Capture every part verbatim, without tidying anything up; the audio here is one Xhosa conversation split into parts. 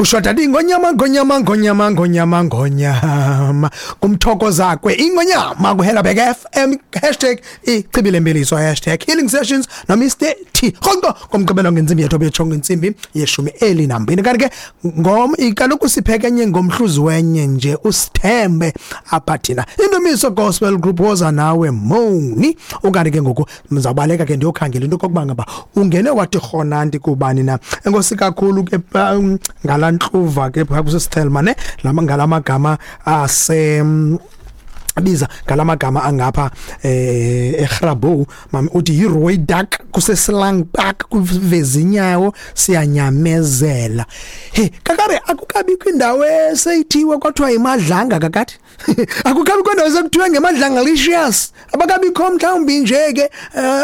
Kushoda ingonyama, ngonyama, ngonyama, ngonyama, ngonyama, kumthokozakwe ingonyama kuHelabek F M, hashtag ichibi lempiliso, hashtag healing sessions no Mister T. Rhoqo ngomgqibelo ngentsimbi yethoba yetshongo, intsimbi yeshumi elinambini. Kanti ke ngom kaloku siphekenye ngomhluzi wenye nje, usithembe apha thina. Indumiso Gospel Group, woza nawe moni. Ukanti ke ngoku ndizawubaleka ke ndiyokhangela into okokuba ngaba ungene wathi rhonanti kubani na. Enkosi kakhulu ke um, ngalaa ntluva ke phaa kusisithelma ne ngala magama ase biza ngalamagama angapha eh eGrabouw. Mami uthi yiRooi Dak kuseSlang Park kuvezinyawo, siyanyamezela. He kakare, akukabikho indawo eseyithiwe kwathiwa iMadlanga kakade? Akukabikho indawo sekuthiwe ngeMadlanga licious? Abakabikho mhlawumbi nje ke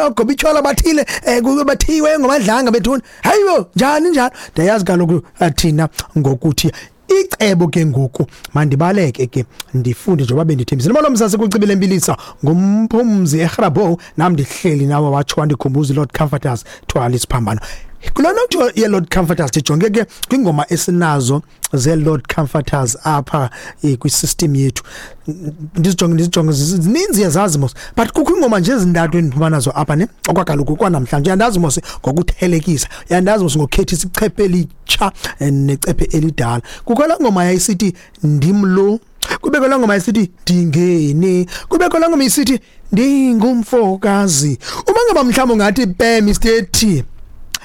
ogobitshola bathile bathiwe ngoMadlanga bethuna? Hayibo, njani njalo? Ndiyayazi kaloku thina ngokuthi icebo ke ngoku mandibaleke ke ndifunde njengoba bendithembisile. Molo msase kucibile mbilisa ngumphumzi eGrabouw, nam ndihleli nawe watsho wandikhumbuza Lord Comforters, thwala isiphambano. Kuloo nothi ye-Lord Comforters, ndijonge ke kwingoma esinazo ze-Lord Comforters apha kwi-system yethu. Ndizijonge, ndizijonge, zininzi, yazazi mos, but kukho ingoma nje ezintathu endiphuma nazo apha ne okwakaloku kwanamhlanje. Uyandazi mos ngokuthelekisa, uyandazi mos ngokukhethisa icephe elitsha necephe elidala. Kukho laa ngoma yayisithi "Ndim lo", kubekho laa ngoma yayisithi "Ndingene", kubekho laa ngoma isithi "Ndingumfokazi". Uma ngaba mhlawumbi ungathi pe Mister T,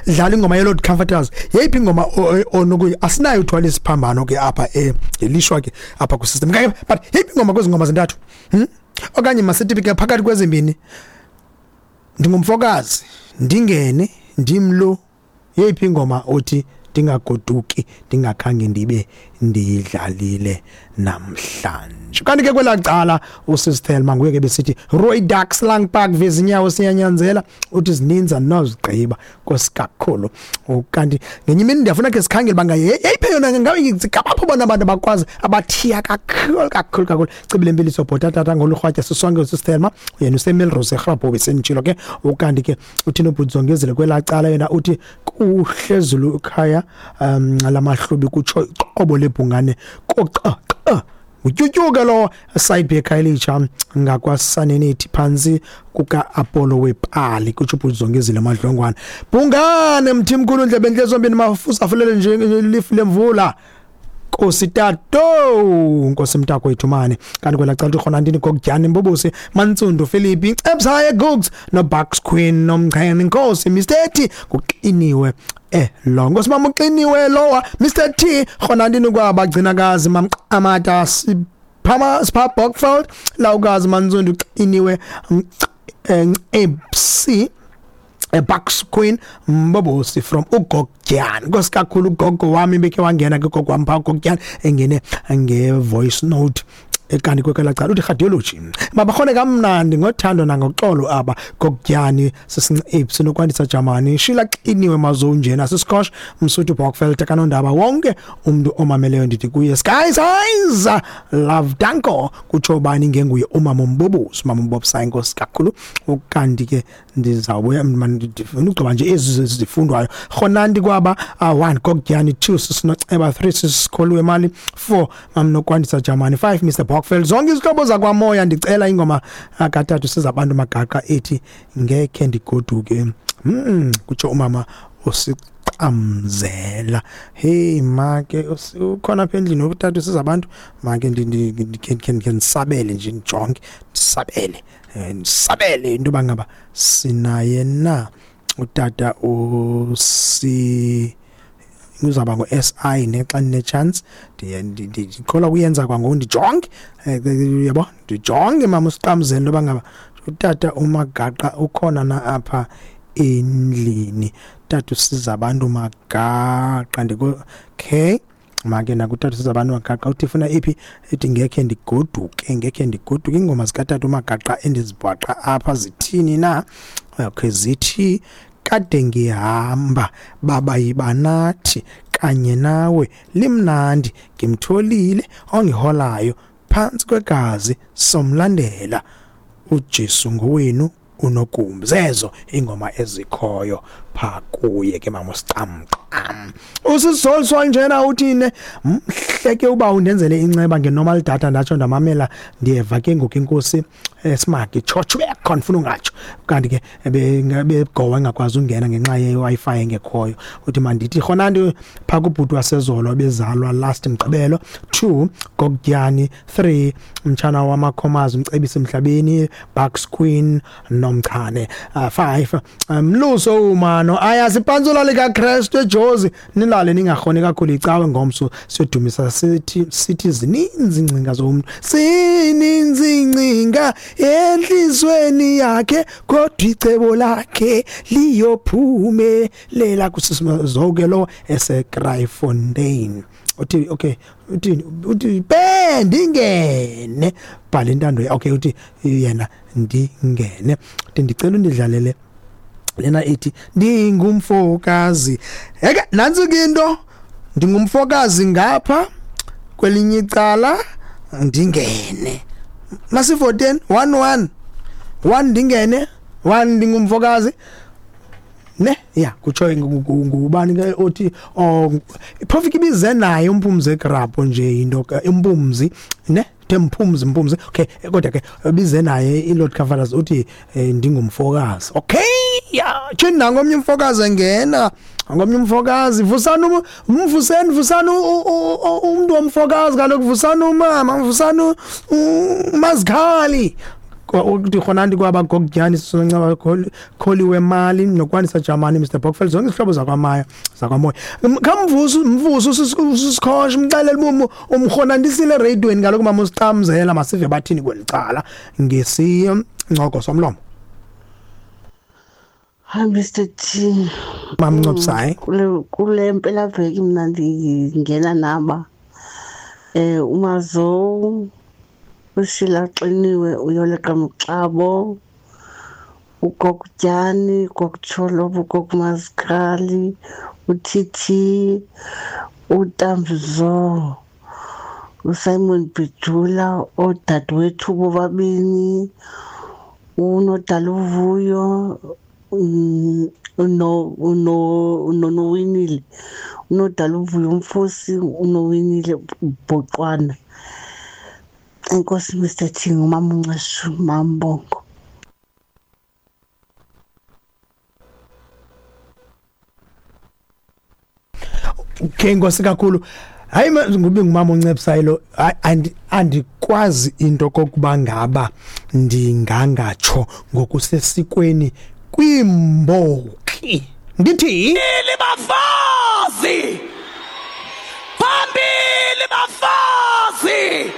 dlala ingoma ye-Lord Comforters, yeyiphi ingoma onokuyi? Asinayo uthwala isiphambano ke apha elishwa ke apha kwi-system, but yeyiphi ingoma kwezi ngoma zintathu, hmm? Okanye masithi ke phakathi kwezimbini, "Ndingumfokazi", "Ndingene", "Ndimlo", yeyiphi ingoma othi ndingagoduki ndingakhange ndibe ndiyidlalile namhlanje? Kanti ke kwelaa cala usisithelma nguye ke besithi Rooi Ducks Lang Park vezinyawo siyanyanzela, uthi zininzi andinozigqiba, nkosi kakhulu. Kanti ngenye imini ndiyafuna ke sikhangele uba yeyiphi yona ngabe ngapho bona abantu abakwazi abathiya kakhulu kakhulu kakhulu. Cibile mpiliso bhota tata ngolurhwatya sisonke. Usisithelma yena useMelrose eRhabho besenditshilo ke. Ukanti ke uthini ubhudzongezile kwelaa cala? Yena uthi kuhle zulu ekhaya um lamahlubi, kutsho iqobo lebhungane koqa utyutyuke lo side ekhayelitsha ngakwasanenethi phantsi kuka-Apollo wepali, kutsho ubhudzongezile Madlongwane. Bhungane mthimkhulu ndlebe entle zombini mafusa afulele nje lifu lemvula. Nkosi tato, nkosi mntakwethu mani. Kanti kwela cala ukhona ndini kokudyana imbubusi Mantsundu Philippi Epsaye Googs no Bucks Queen nomchene. Nkosi Mister T kuqiniwe eh lo nkosi mama uqiniwe lowa Mister T khona ndini kwabagcinakazi mamqamata siphama sipha Bockfeld lawukazi Mantsundu uqiniwe M C Bucks Queen Mbobosi from uGogyana. Nkosi kakhulu ugogo wami bekhe wangena ke gogo wami pha uGogyana engene nge voice note. Kanti kwekela cala uthi radiology mabakhone kamnandi ngothando nangoxolo aba Gogyani sisincepsi nokwandisa Jamani Shila qiniwe mazonjena sisikosh Msuthu Bockfeld kanondaba wonke umuntu omameleyo ndithi kuye sky size love danko, kutsho bani ngenguye umama uMbobosi, umama uMbobisa, inkosi kakhulu. Ukanti ke ndizawubuya ndifuna ugqiba nje ezi zifundwayo. Khonanti kwaba one Gogyani, two sisinoceba, three sisikholiwe mali, four mamnokwandisa Jamani, five Mister Bockfeld, zonke izihlobo zakwamoya. Ndicela ingoma kathathu sizabantu Magaqa ethi "Ngekhe Ndigoduke", mm kutsho umama usiqamzela. Hey make, ukhona apha endlini utata sizabantu? Make ndikhe ndisabele nje, ndijonge, ndisabele ndisabele into yoba ngaba sinaye na utata usi uzawuba ngu-S I ne xa ndine-chance ndikholwa kuyenza kwangoku. Ndijonge, uyabo, ndijonge mama usiqamzele into yoba ngaba utata uMagaqa ukhona na apha endlini. Tata usiza abantu Magaqa, ndiko okay make nakutata usiza abantu Magaqa uthi funa iphi? Ethi "Ngekhe Ndigoduke". "Ngekhe Ndigoduke". Iingoma zikatata uMagaqa endizibhaqa apha zithini na? Okay, zithi "Kade Ngihamba", "Baba Yibanathi", "Kanye Nawe", "Limnandi", "Ngimtholile Ongiholayo", "Phantsi Kwegazi", "Somlandela", "uJesu Ngowenu", "Unogumbi". Zezo ingoma ezikhoyo pha kuye ke mama usicamqa. Usisol njena uthine mhleke uba undenzele inceba ngenormal data ndatsho ndamamela ndiyeva ke ngoku inkosi smart tshotsho khona ungatsho kanti ke begowa engakwazi ungena ngenxa ye Wi-Fi engekhoyo. Uthi mandithi khona nto pha kubhuti wasezolo bezalwa last Mgqibelo two Gogyani three mtshana wamakhomazi umcebisi emhlabeni Bucks Queen nomchane five mluso umano ayazipantsula lika Christ eJozi nilale ningakhoni kakhulu icawe ngomso siyodumisa sithi sithi zininzi ingcinga zomuntu sininzi ingcinga enhlizweni yakhe kodwa icebo lakhe liyophumelela kusizonke lo eseKraaifontein. Uthi okay uthi uthi bendingene bhala intando okay uthi yena ndingene uthi ndicela undidlalele lena ithi ndingumfokazi. Eke nansi ke into ndingumfokazi ngapha kwelinye icala ndingene masifourteen one one one ndingene one ndingumfokazi ne ya kutsho ngubani ke othi oh profit ibize naye uMphumzi egrapho nje into uMphumzi ne Mphumzi Mphumzi okay kodwa ke bize naye iLord Cavaliers uthi ndingumfokazi. Okay ya tshini nangomnye umfokazi engena ngomnye umfokazi vusana umvuseni vusana umuntu womfokazi kaloku vusana umama vusana uMazikhali uthi khona ndi kwaba Gogyani sisoncaba kholiwe mali nokwanisa Jamani Mister Bockfeld zonke izihlobo zakwamaya zakwamoya khamvusu mvusu usikhosha umxelele mumu umkhonandisile radioweni kaloku mama usicamzela masive bathini kwelicala ngesincoko somlomo. Hi Mister T. Mamncopsayi kule kule mpela veki mina ndingena naba eh uMazo uShila Xiniwe uyoleqa Mxabo uGogyani uGogcholo uGogMazikhali uTT uTamzo uSimon Bidula odadewethu bobabini uNodaluvuyo uno uno uNowinile uNodaluvuyo umfosi uNowinile Boqwana. Enkosi Mister T ngumama uNceshu Mambongo. Okay nkosi kakhulu. Hayi ngube ngumama uNcepsayo andikwazi into kokuba ngaba ndingangatsho ngokusesikweni kwimboki ndithi bafazi phambili bafazi.